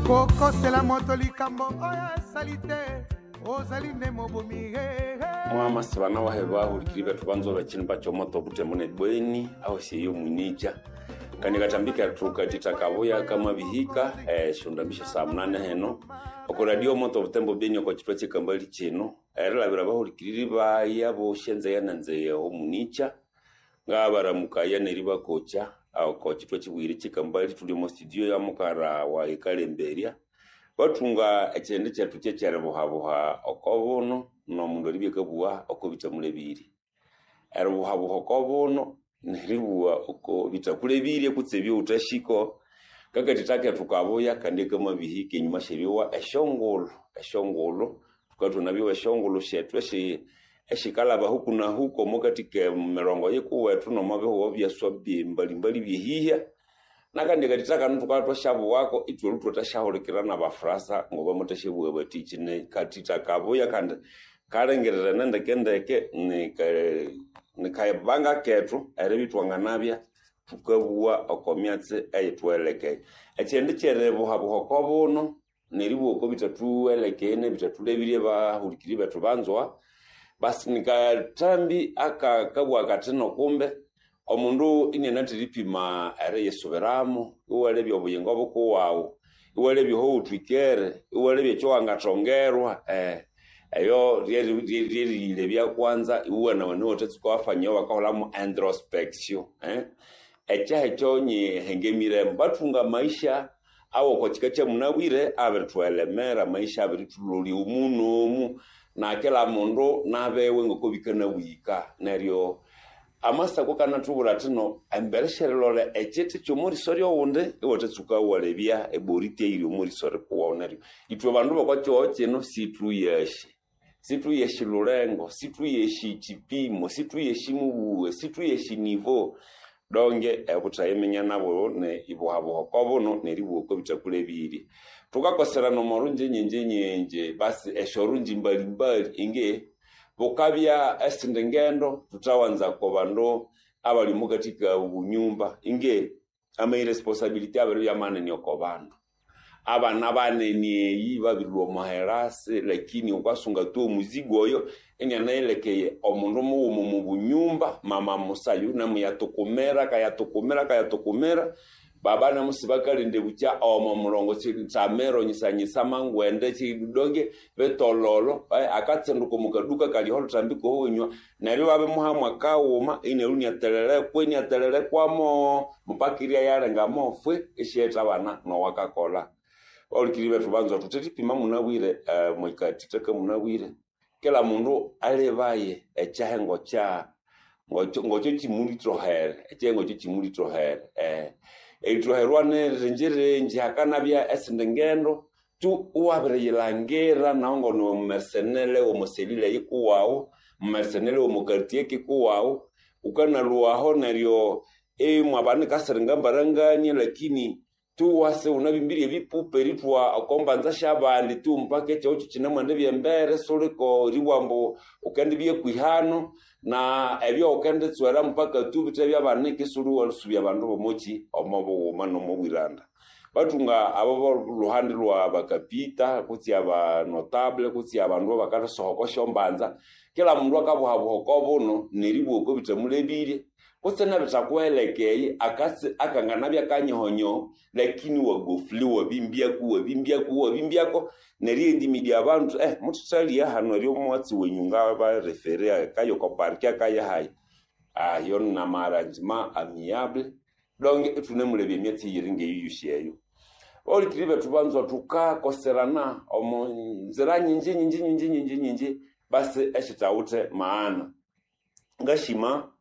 Kokosela moto likambo oyo asali te, ozali nde mobomi. Mwamasi bana wahe bahulikiri bethu banzo bachini bachomoto butemo ne bweni aho siyo mwinicha kandi katambika tukatita kabuya kama bihika shondambisha saa 8 heno oko radio moto butembo beni oko chitwa chikambali chino erilabira bahulikiriri baya boshenze yananze omunicha ngabaramukaya neribakocha oko chitwa chibwire chikambali tuli mu studio ya mukara wa ikalemberia bathunga ekyindi kyethu kyekyeribuhabuha okobuno nomundu eribyakabuwa oko bithamulebirye. Eribuhabuha okobuno neribuwa oko bithakulebirye kutse ebyowuthahiko kakatitha kethu kabuya kandi kamabihika enyuma syeryowa esyongulhu esyongulhu thukathwa byowa esyongulhu syethu esyikalaba huku na huku omukati kemirongo yikuwethu nomwabihugho byaswa byembalimbali byehihya. Nakandi katitha kanu thukabya thwasyabuwako ithwalhu thwathasyahulukira nabafurasa ngobamuthasyabuwa bathi kine katitha kabuya kandi kalengererene ndekendeke nikabanga kethu eribya ithwanganabya thukabuwa oko myatsi eyithuwelekeye. Ekyindi kyeribuhabuha okobuno neribuwa oko bithathuwelekeye nebithathulebirye bahulikiri bethu banzwa basi nikathambi akakabugha kathi nokumbe omundu inianathiripima eriyisubiramu iwalebya obuyingo bukuwawu iwalebya ohowuthwikere iwalebya ekyowangathongerwa eyo ryeriyilebya kwanza iwuwanawana iwathatsuka wafanyayo bakaholhamu introspection. Ekyaha ekyo nyihengemiremu bathunga amaisha awoko kika kyamunabwire abirithwelemera amaisha abirithulolya omu nomu na kila mundu nabewe ngoko bikanabwika neryo amasako kanathubwira athino embere syerilolha ekyiti kyomoriso ryowundi iwathatsuka iwalebya eboriti eyiri omoriso rikuwawu neryo ithwe bandu bokwakyihogho kyino sithuyashi sithuyashi lulengo sithuyashi kyipimo sithuyashi mubuwe sithuyashi nivo donge obuthayiminya nabo ne ibuhabuha okobuno neribuwa oko bithakulebirye. Thukakoserana omorungi nyingi nyingi basi esyorungi mbalimbali inge bukabya esindi ngendo thuthawanza oko bandu abali omukathika obunyumba inge ama irresponsibility abiribya manene oko bandu. Abana banene eyi babirilhwa omuherasi lakini wukasunga tu omuzigo oyo inianayilekeye omundu mughuma omu bunyumba mama musayu namuyatukumira kayatukumira kayatukumira baba namusibakalinda bukya omo mulongo tsamero nyisanyisa mangwende chidonge betololo akatsenduka mukaduka kaliho lutambiko hunywa neryo babimuha mwakawuma ineru niatelelekwa iniatelelekwamo mpaka yalenga mofwe isyetha abana nowakakola. Bahulikiri bethu banzwa thuthethipima munabwire mwikatithaka munabwire kila mundu alebaye ekyahengo kya ngokyo kimulithohere ekyahengo kyo kimulithohere erithoherwa nirinjirinji hakanabya esindi ngendo tu iwabiriyilangira nahu ngoniwe mumersenele womuselile yikuwawu mumersenele womukartie kikuwawu wukanalhuwaho neryo imwabanika siringa mbarangania lakini tu wase wunabimbirye ebipupa erithwa okombanza syabandi tu mpaka ekyihugho kyikinemwendibya embere suliko eribugha ambu wukendibya kwihano na ebyo wukenditswera mpaka tu bithe byabanika isiwuliwasubya abandu bomokyi omobughuma nomobwiranda. Bathunga abo bolhuhandi lwa bakapita kutse abanotable kutse abandu abakathasoha oko syombanza kila mundu akabuhabuha okobuno neribuwa oko bithamulebirye kutse nebithakuhelekeye akanganabya kanyohonyoho lakini wagofule wabimbyako wabimbyako wabimbyako neryo endimidya abandu muthuthalya hano eryo omwatsi wenyu ngabarefere akayo oko park akayahayi ayo namaranjima amiable donge ithunemulebya emyatsi eyiri ngeyiyosi eyo. Bahulikiri bethu banzwa thukakoserana omo nzira nyingi nyingi nyingi nyingi nyingi basi esithawithe maana. Ngashima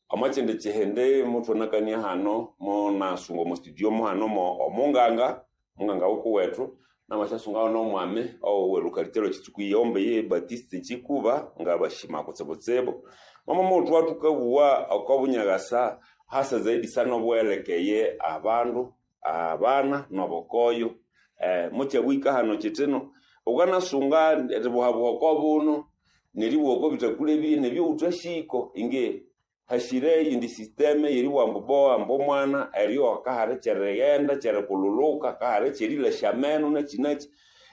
omwakyindi kyihindi muthwanakania hano munasunga omo studio muhano omunganga munganga wukuwethu namasyasungaho nomwami owelukalite lwekitsuku iyombe ye Batiste Kikuba ngabashima kutsibutsibu. Mama muthwa thukabuwa okobunyakasa hasa zaidi sana obuwelekeye abandu abana nobukoyo mukyabwika hano kyithino wukanasunga eribuhabuha okobuno neribuha oko bithakulebirye nebyowuthahiko inge Hashire eyindi system yeribugha ambu bowa ambu omwana eryo akahali kyerighenda kyerikululuka akahali kyerilasya ameno nakyi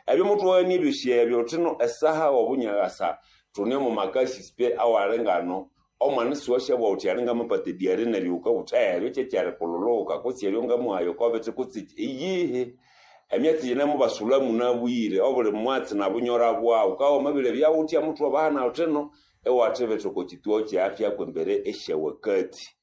ebyo muthwaghania ebyosi ebyo thino esaha obunyakasa thune omo makasi pe awali ngano omwana siwasyabugha wuthi ali ngamapata ediare neryo wukabugha wuthi eryo kyekyerikululuka kutse eryo ngamuhayo okobithi kutse iyihi. Emyatsi yinemubasulha munabwire obuli mwatsi nabunyora bwawu wukabya wamabirebya wuthya muthwabahana wuthino iwathibitha oko kyituo kye afya kwembere esyawakati.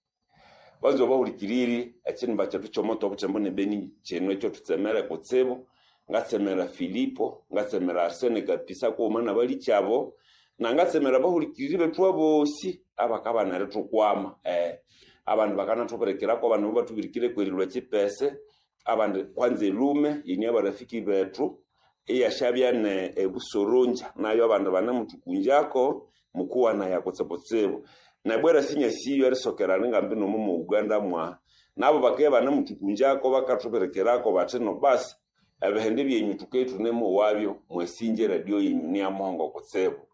Banza bahulikiriri ekinimba kyethu kyomoto obuthembo nebeni kino ekyathutsemere kutsibu. Ngatsemera Filipo, ngatsemera Arsene Kapisa kughuma nabalikyabo, nangatsemera abahulikiriri bethu abosi abakabana erithukwama. Abandi bakanathubirikirako, abandi mubathubirikire kwerilwa ekyipese, abandi kwanza elume yini abarafiki bethu iyasyabya ne ebusoronja nayo abandi banemuthukunjako mukuwanaya kutsibutsibu. Nabwera sinyasiyo erisokera ningambi nomo mu Uganda mwaha nabo bakabya banemuthukunjako bakathubirikirako bathi no basi ebihindi byenyu thuke thunemowabyo mwasinja eradio yenyu niyamuhongo kutsibu.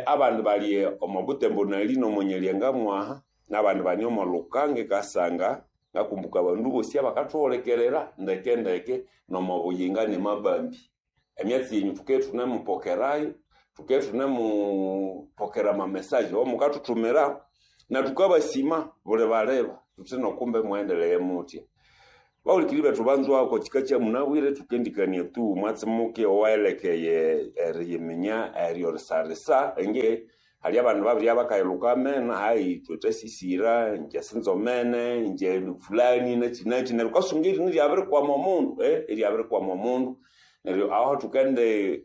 Abandi bali omo Butembo nali nomo Nyalyenga mwaha nabandi bani omo Lukanga Kasanga ngakumbuka abandu bosi abakathuhulikirira ndeke ndeke nomo Buyinga nemabambi. Emyatsi yenyu thuke thunemupokerayo, thuke thunemupokera amamesaje awamukathuthumira na thukabasima buli baleba thuthi nokumbe mughendeleye muthya. Bahulikiriri bethu banzwa oko kika kyamunabwire thukendikania tu mwatsi muke owaelekeye eriyiminya eryorisarisa inge hali abandu babirya bakayilhuka ameno hayi ithwe thwasisira inje sinzomene inje fulani nakyi nakyi neryo wukasunga erini iryabirikwama omundu iryabirikwama omundu neryo aho thukende.